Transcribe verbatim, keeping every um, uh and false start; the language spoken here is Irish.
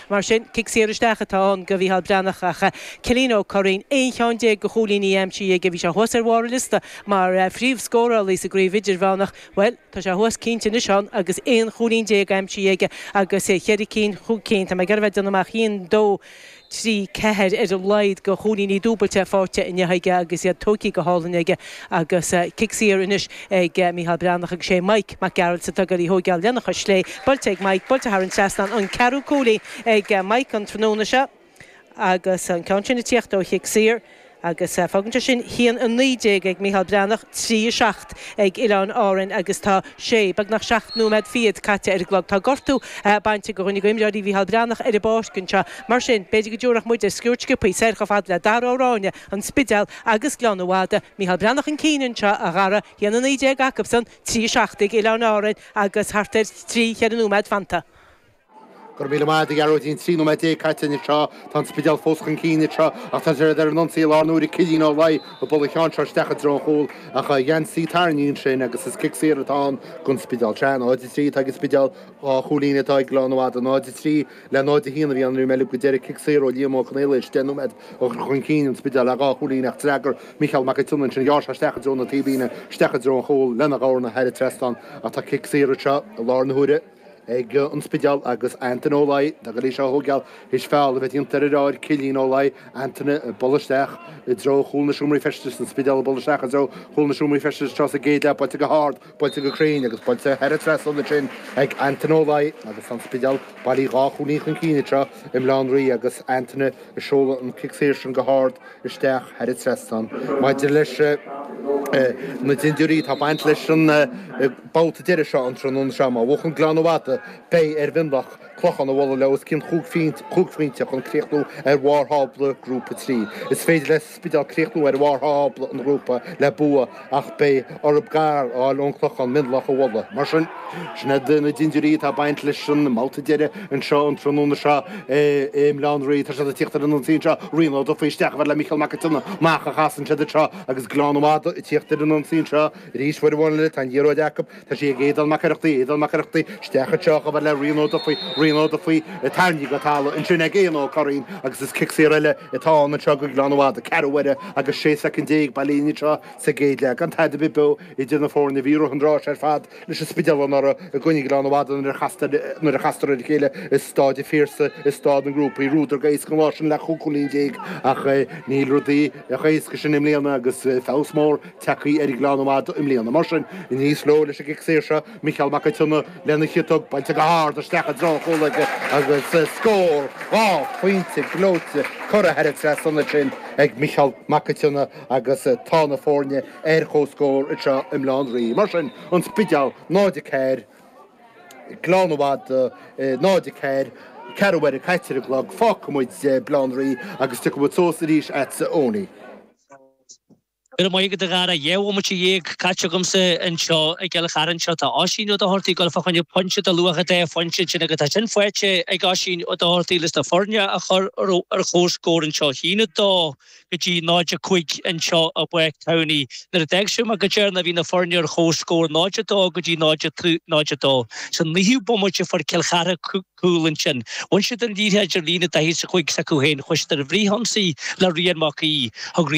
Mar sin cic saor isteach atá ann go Mhícheál Breathnach ach Cillian Ó Curraoin aon cheann déag de chúilíní aimsithe aige bhí sé thuas ar bharr an liosta mar phríomhscórálaí sa gcraobh idirmheánach. Well tá sé thuas cinnte anois ann agus aon chúilín déag aimsithe aige agus cheithre cinn chúig cinn tá mé ag iarraidh a bheith ag déanamh amach aon dó trí ceathair ar a laghad de chúilíní dúbailte faighte inniu aige agus iad tógtha go hálainn aige agus cic saor anois ag Mícheál Breathnach agus sé Mike Mac Gearailt atá ag goil í thógáil lena chois chlé buailte ag Mike buailte thar an trasnán an ceathrú cúilín ag Mike an tráthnóna seo agus an ceann sin ag tíocht ó chic saor. Agus fágann sé sin haon a naoi déag ag Mícheál Breathnach, trí a seacht ag Oileáin Árann agus tá sé, beagnach seacht nóiméad fichead caite ar an gclog. Tá gortú bainte de dhuine d'imreoirí Mhícheál Breathnach ar an bpáirc anseo. Mar sin, b'fhéidir go dtabharfadh muid ar sciuird sciobtha soir chomh fada le Dara Ó Ráinne, An Spidéal agus Gleann an Fhada. Mícheál Breathnach chun cinn anseo, a Dhara, haon a naoi déag acusan, trí a seacht ag Oileáin Árann agus thart ar trí, cheithre nóiméad fanta. Go raibh míle maith agat a Ghearóidín, trí nóiméad déag caite anseo, tá an Spidéal fós chun cinn anseo ach tá siad ar an ionsaí i lár na huaire, Cillian Ó Laoi ag bualadh an cheann seo isteach i dtreo an chúil ach geansaí tarraingthe ansin agus is cic saor atá ann don Spidéal. Sea, náid a trí atá ag an Spidéal, dhá chúilín atá ag Gleann an Fhada, náid a trí le náid a haon a bhí ann, mé go deireadh cic saor ó Liam Ó Conaola is deich nóiméad a chur chun cinn an Spidéal le dhá chúilín ach d'fhreagair Micheál Mac an tSionnaigh ansin, ghearr sé isteach i dtreo na taobhlíne, isteach i dtreo an chúil lena dhorna thar an trasnán ach tá cic saor anseo i lár na huaire. ag an Spidéal agus Antaine Ó Laoi ag goil í seo a thógáil théis feall a bheith déanta ar a dheartháir Cillian Ó Laoi, Antaine ag bualadh isteach i dtreo chúl na seomraí feistis, an Spidéal ag bualadh isteach i dtreo chúl na seomraí feistis anseo sa gcéad leath, buailte go hard, buailte go cruinn agus buailte thar an trasnán ansin ag Antaine Ó Laoi agus tá an Spidéal bailí dhá chúilín chun cinn anseo i mBaile Átha an Rí agus Antaine ag seoladh an cic saor sin go hard isteach thar an trasnán. Maidir leis na dindiúirí, tá baint leis an babhta deiridh seo an tráthnóna seo. Má bhuachann Gleann an Fhada, beidh ar Mhionlach Clochán a bhualadh le os cionn chúig phointe chun críochnú ar bharr thábla Grúpa trí. Is féidir le Spidéal críochnú ar bharr thábla an ghrúpa le bua ach beidh orthu gar a fháil ón Clochán Mionlach a bhualadh. Mar sin, sin iad na dindiúirí atá ag baint leis an mbabhta deiridh anseo an tráthnóna seo i mBaile Átha an Rí. Tá siad ag tíocht ar an ionsaí anseo, Rian Ó Dufaigh isteach a fhad le Mícheál Mac an tSionnaigh. Amach a chasann siad anseo agus Gleann an Fhada ag tíocht ar an ionsaí anseo arís uair amháin eile. Tá an liathróid acu. Tá sí ag Aodán Mac Oireachtaigh, Aodán Mac Oireachtaigh isteach anseo chomh fada le Rian Ó Dufaigh, Rian Ó Dufaigh tarraingthe go talamh ansin ag Éanna Ó Curraoin agus is cic saor eile atá ann anseo go Gleann an Fhada. Ceathrú uaire agus sé soicind déag bailithe anseo sa gcéad leath. Gan tada ar bith beo idir na foirne. Bhí rith an ráis ar fad leis an Spidéal anuraidh i gcoinne Ghleann an Fhada nuair a chastar nuair a chastar ar a chéile i Stáid an Phiarsaigh i Stáid na nGrúpaí. Bhuadar go héasca an lá sin le chúig chúilín déag ach níl rudaí chomh héasca sin i mbliana agus feabhas mór tagtha ar Ghleann an Fhada i mbliana. Mar sin, aníos leo leis an gcic saor seo, Micheál Mac an tSionnaigh lena chiotóg buailte go hard isteach i dtreo an chúil aige agus scór dhá phointe gleoite curtha thar an trasnán ansin ag Micheál Mac an tSionnaigh agus tá na foirne ar comhscór anseo i mBaile Átha an Rí. Mar sin, An Spidéal náid a ceathair, Gleann an Fhada náid a ceathair, ceathrú uaire caite ar an gclog, fágfaidh muid Baile Átha an Rí agus tiocfaidh muid suas arís agatsa Eoiní. Go raibh maith agat a Dhara. Dhá bhomaite dhéag caite agamsa anseo i gCill Chartha anseo. Tá Oisín Ó Dochartaigh ag dul fá choinne pointe de luach dhá phointe ansin agus tá sin faighte ag Oisín Ó Dochartaigh leis na foirne a chur ar comhscór anseo. A haon a dó go dtí náid a cúig anseo i bPáirc Towney. Nuair a d'fhág mé go deireanach bhí na foirne ar comhscór náid a dó go dtí náid a dó. Sa naoú bomaite fuair Cill Chartha cúl ansin. Bhain siad an liathróid ar líne daichead is a cúig s'acu féin. Chuaigh siad ar an bhfrithionsaí le Rian Mac Aoidh. Thug